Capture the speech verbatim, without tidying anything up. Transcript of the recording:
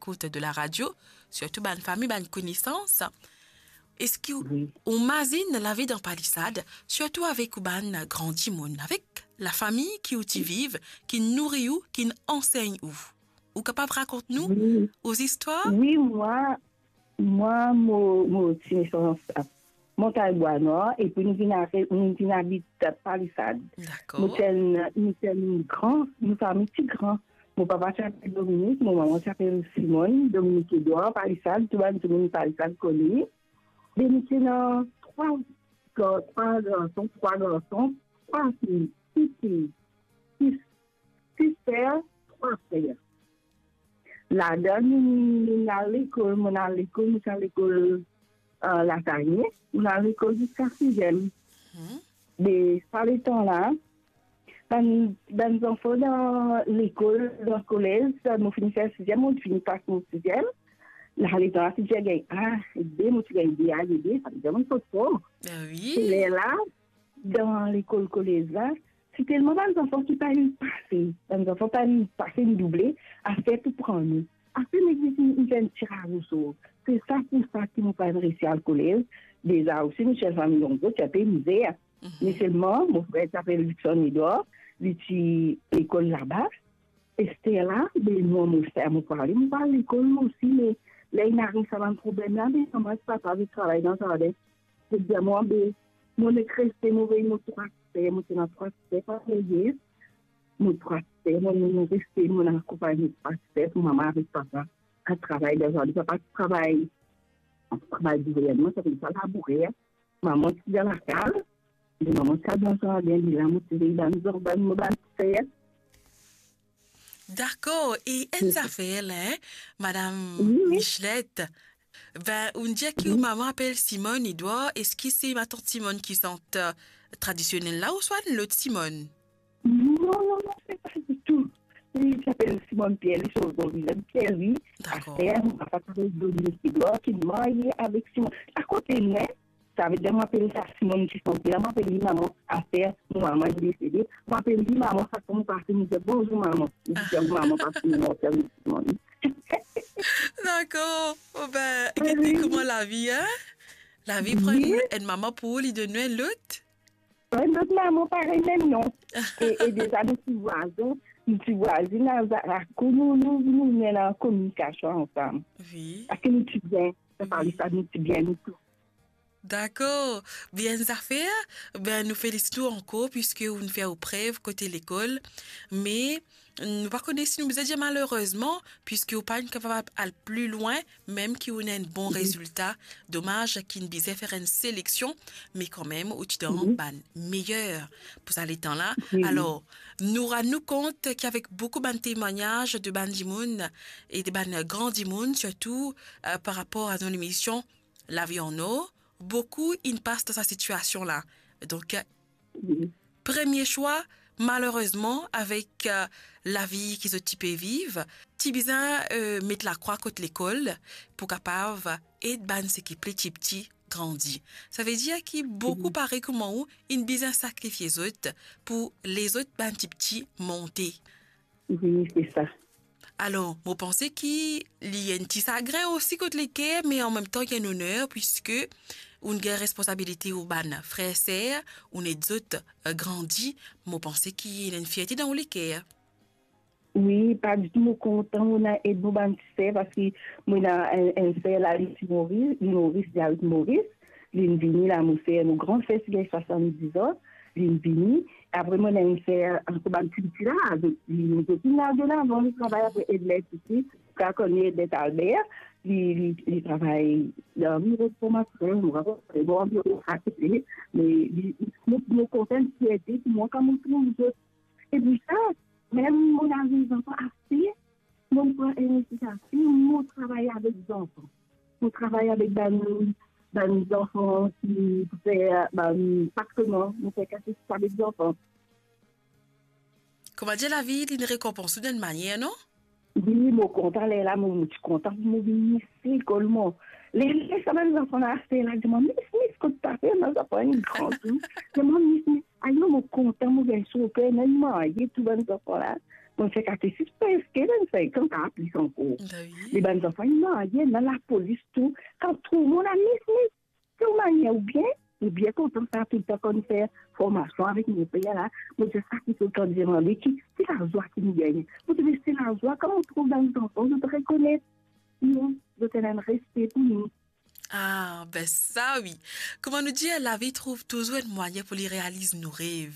écoute de la radio, sirtou bann fami, bann konesans. Eski ou, wi, ou mazinn lavi dan palisad, sirtou avek ou bann gran dimoun, avek lafami ki ou ti viv, ki nouri ou, ki ansegn ou? Ou kapav rakont nou, wi, ou zistwar? Wi, mwa, mwa, mo, mo ti nesans, Montagne Bois Noir, epi nou vinn ariv, nou vinn abit Palisad. Dakor. Nou ti enn, nou ti enn gran, nou fami ti gran. Mo papa ti apel Dominique, mo mama ti apel Simone, Dominique Edouard, Palisad, tou bann dimoun Palisad kone. Be nou ti ena trwa gar-, trwa garson, trwa garson, trwa fi, sis fi, sis, sis ser, trwa frer. Ladan nou, nou al lekol, mo al lekol, mo ti al lekol, eh, Latanye, mo al lekol ziska siziem. Mhm. Be sa letan la, bann, bann zanfan dan lekol, dan kolez, mo fini fer siziem, mo fini pas mo siziem. La letan la, ti dir gagn A, B, mo ti gagn B A, B B, sa vedir mo sot for. Ah wi. Se ler la, dan lekol kolez la, ti telman bann zanfan ki pa inn pase, bann zanfan pa inn pase, inn double, aster pou pran nou. Aster nou, nou, nou fer enn tiraz osor. Se sa pou sa ki mo pa inn resi al kolez. Deza osi, nou ti enn fami nonbre, ti enn pe mizer. Mhm. Me selman, mo frer ti apel Luckson Edouard, li ti lekol laba. Ester la, be mwa, mo fer, mo pou ale, mo pou al lekol mwa osi, me ler inn ariv sa bann problem la, be mama ek papa pe travay dan zardin. Zot dir mwa, be, mo nek reste, mo vey mo trwa ser, mo ti ena trwa ser, pa veye. Mo trwa ser, mo, mo, mo reste, mo akonpagn mo trwa ser pou mama avek papa al travay dan zardin. Papa ti travay, travay gouvernman, sa vedir sa labourer. Mama ti dan lakaz, me mama ti al dan zardin, li la mo ti vey bann zor-, bann, mo bann ser. Dakor, e enn zafer la, hein, Madam Michelet, ben, ou dir ki ou mama apel Simone Edouard, eski se matant Simone ki sant, euh, tradisionel la, ouswa enn lot Simone? Non, non, non, se pa ditou. Li ti apel Simone Pierre, li sov non li, Pierre, wi. Dakor. Aster, mo papa ti apel Dominique Edouard, ki marye avek Simone. Akote mwa, sa vedir mo apel sa Simone ki sante la, mo apel li mama. Aster mo mama inn desede, mo apel li mama, sak fwa mo pase, mo dir, "Bonzour, mama." Li dir, "Mama, pa fini, mo apel li Simone." Dakor. Bon, ben, gete kouma lavi, hein? Lavi pran enn, enn mama pou ou, li donn ou enn lot. Enn lot mama, parey, mem non. E, e deza, nou ti vwazin, nou ti vwazin, la, la, la, nou, nou, nou, nou ena kominikasion ansam. Wi. Parski nou ti bien, sa pa li sa, nou ti bien, nou tou. Dakor. Bien zafer. Ben, nou felisit ou ankor, piski ou'nn fer ou prev kote lekol. Me, nou pa kone si nou bizin dir malerezman, piski ou pa'nn kapav al pli lwin, mem ki ou'nn ena enn bon rezilta. Domaz ki'nn bizin fer enn seleksion, me kanmem, ou ti dan bann meyer pou sa letan la. Alor, nou rann nou kont ki avek boukou bann temwagnaz de bann dimoun e de bann gran dimoun, sirtou, euh, par rapor a nou lemision, Lavi an Or, boukou inn pas dan sa sitiasion la. Donk, premie swa, malerezman, avek, euh, lavi ki zot ti pe viv, ti bizin, euh, met lakrwa kot lekol pou kapav ed bann seki pli tipti grandi. Sa vedir ki boukou parey kouma ou, inn bizin sakrifie zot pou lezot bann tipti monte. Wi, se sa. Alor, mo panse ki li enn ti sagrin osi kot leker, me anmemtan li enn oner, piski ou'nn gagn responsabilite ou bann frer, ser, ou'nn ed zot, euh, grandi. Mo panse ki ena enn fierte dan ou leker. Wi, pa ditou, mo kontan, mo ena ed mo bann ti ser, parski mo ena enn, enn ser la, li ti Moris, li Moris, li abit Moris. Li'nn vini la, mo ser, mo gran ser ti gagn swasann-diz an, li'nn vini. Apre, mo ena enn ser ankor, bann piti la, zot, li, zot inn al de lavan, li travay apre Edlet isi, kan kone Edlet Albert, li, li, li travay dan biro formasion, mo pa kone, bon, biro, me li, mo, mo kontan, fierte pou mwa kan mo trouv zot. Epi sa, mem mo lavi zanfan ase, mo pran inisitativ, mo travay avek zanfan. Mo travay avek bann, bann zanfan ki pou fer bann patreman, mo fer katekis avek zanfan. Koumadir lavi, li'nn rekonpans ou dan enn manier, non? Wi, mo kontan, lerla mo, mo ti kontan pou mo vinn Miss lekol mwa. Ler, ler sa bann zanfan la, ase la, dir mwa, "Miss, Miss, kot to pe fer?" Bann zanfan inn gran tou. Dir mwa, "Miss, Miss." Ayo, mo kontan, mo gagn so ker, mo marye tou bann zanfan la. Mo fer katesis preske vennsenk an, pa plis ankor. Ben oui. Me bann zanfan, inn marye, ena lapolis tou. Kan trouv mwa la, mis, mis, ki manier, oubien, oubien kontan sa, toultan kan nou fer formasion avek mo per la, mo dir sa ki toultan demande, ki, ki lazwa ki nou gagne. Mo dir, me se lazwa, kan mo trouv bann zanfan, zot rekonet, non, zot ena enn respe pou nou. Ah, ben sa oui. Kouma nou dir, lavi trouv touzour enn mwayin pou li realiz nou rev.